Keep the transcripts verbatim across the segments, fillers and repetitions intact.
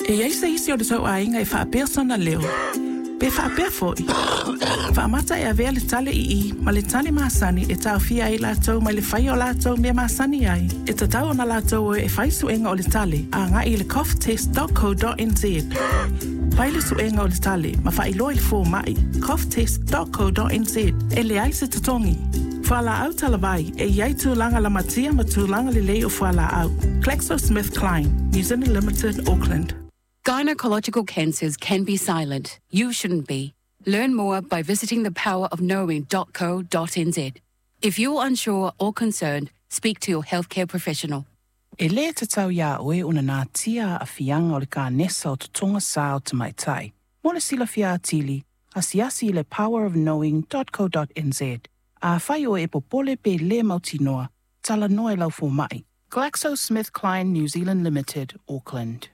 E i ai se isi o le tou aiga e faapea sona leo, pe faapea foi. Faamata e avea le tale i i ma le tale masani e taofia ai latou mai le faia o latou mea masani ai. E tatau ona latou o e fai suega o le tale agai i le cough test dot co dot n z. Fai le suega o le tale ma faailoa i le fomai cough test dot co dot n z e leai se totogi. Fualaau talavai e i ai tulaga lamatia ma tulaga lelei o fualaau. GlaxoSmithKline, New Zealand Limited, Auckland. Gynecological cancers can be silent. You shouldn't be. Learn more by visiting the power of knowing dot co dot n z. If you're unsure or concerned, speak to your healthcare professional. E lē tatau iā oe ona natia aafiaga o le kanesa o totoga sa o tamaitai. Mo le silafia atili, asiasi i le power of knowing dot co dot n z. Afai oe e popole pe lē mautinoa, talanoa i lau fomai. GlaxoSmithKline New Zealand Limited, Auckland.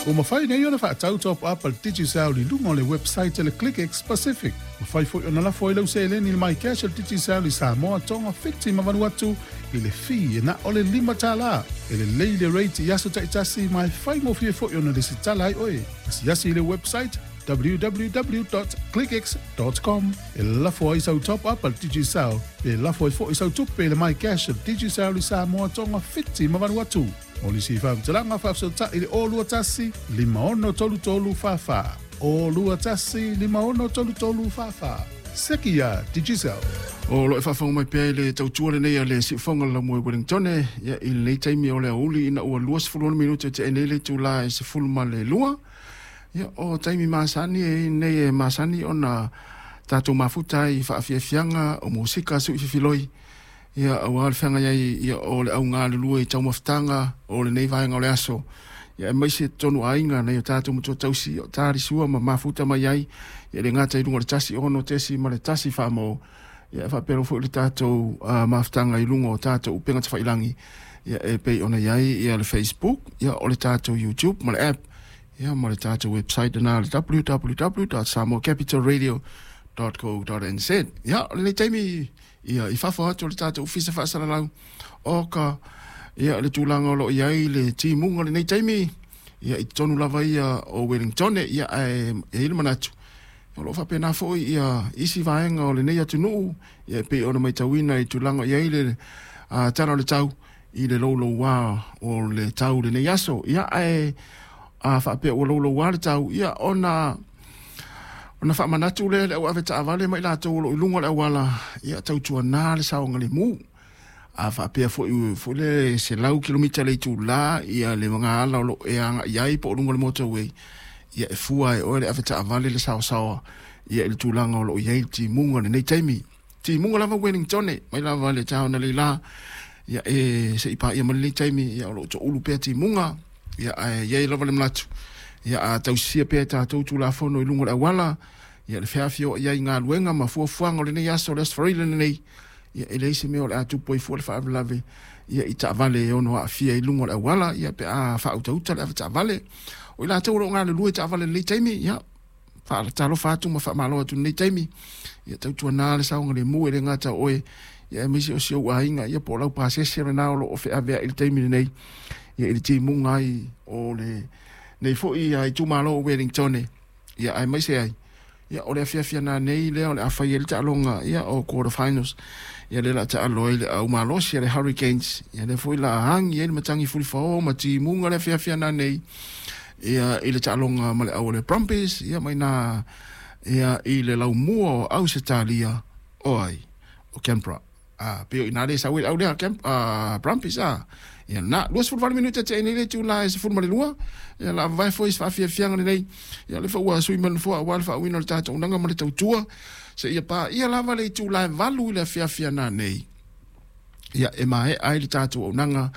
Ua mafai nei ona faatau top up a le Digicel i luga o le website a le ClickX Pacific. Mafai foi ona lafo ai lau seleni i le MyCash a le Digicel i Samoa, Tonga, Fiti ma Vanuatu i le fee e na o le lima tala. E lelei le rate i aso taitasi ma e faigofie foi ona lesitala ai oe. Asiasi i le website w w w dot clickx dot com e lafo ai sau top up a le Digicel pe lafo ai foi sau tupe i le MyCash a le Digicel i Samoa, Tonga, Fiti ma Vanuatu. O nisi faamatalaga faafesootai i le o lua tasi, lima ono tolu tolu fa fa. O lua tasi, lima ono tolu tolu fa fa. Seki ia Digicel. O lo e faafofoga mai pea i le tautua lenei a le siufoga le laumua i Wellington, ia i lenei taimi o le aoauli ina ua luasefulu ono minute tea nei le itulā e sefulu ma le lua. Ia o taimi masani e nei e masani ona tatou mafuta ai i faafiafiaga o musika suʻi fifiloi. Ia auā le feagai ai ia o le augalulue i taumafataga o lenei vaega o le aso. Ia aemaise totonu aiga nai o tatou matua tausi o talisua ma mafuta mai ai. Ia le gata i luga o le tasi ono tesi ma le tasi faamao. Ia e faapea foi le tatou uh, mafutaga i luga o tatou upega tafailagi. Ia e pei ona i ai ia le Facebook, ia o le tatou YouTube ma le app. Ia ma le tatou website na le w w w dot samoa capital radio dot co dot n z. Ia o lenei taimi ia i fafo atu o le tatou ofisa faasalalau o ka ia le tulaga o loo i ai le timuga o lenei taimi ia i totonu lava ia o Wellington ia ae e i ai le manatu o loo faapena foi ia isi vaega o lenei atunuu ia e pei ona matauina i tulaga i ai le uh, tala o le tau i le loulouā o le tau lenei aso ia ae a faapea ua loulouā le tau ia ona ona faamanatu lea le au ave taavale ma i latou o loo i luga o le auala ia tautuanā le saogalemu a faapea foi foi le selau kilomita le itulā ia le magaala o loo e agai ai po o luga o le motorway ia e fua e oe le ave taavale le saosaoa ia i le tulaga o loo i ai le timuga lenei taimi timuga lava Wellington mai lava le taona leilā ia e seʻi paia ma lenei taimi ia o loo toulu pea timuga ia ae i ai lava le manatu ia a tausisia pea e tatou tulafono i luga o le auala ia le feafioai ai i galuega ma fuafuaga o lenei aso le Aso Faraile lenei ia e leai se mea o le a tupu ai fua le faalavelave ia i taavale e ono aafia i luga o le auala ia pe a faautauta le ave taavale o i latou o loo galulue i taavale i lenei taimi ia faatalofa atu ma faamalo atu i lenei taimi ia tautuanā le saogalemu e le gata o oe ia aemaise o si ou aiga ia po o lau pasese lena o loo feaveai i le taimi lenei ia i le timuga ai o le nei foi ia itumalo o Wellington ia aemaise ai ia o le afiafi nanei lea o le a fai ai le taaloga ia o quarter finals ia lea o le a taalo ai le au malosi a le Hurricanes ia lea foi la agi ai le matagi fulifaõ ma timuga le afiafi nanei ia i le taaloga ma le au o le Brumbies ia mai na ia i le laumua o Ausetalia o ai o Canberra. A pei o i nā le sau ai le au lea Camp, uh, Brumbies a. Ia na, luasefulu valu minute tea nei le itulā e sefulu ma le lua. Ia la vavae foi i se faafiafiaga lenei. Ia o lea foi ua sui mai le nofoa auā le faauiina o le tatou auaunaga ma le tautua. Seia paia lava le itulā e valu i le afiafi nanei. Ia e maea ai le tatou auaunaga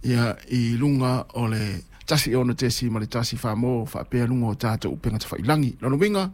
ia i luga o le tasi ono tesi ma le tasi fā mo faapea luga o tatou upega tafailagi. Lona uiga,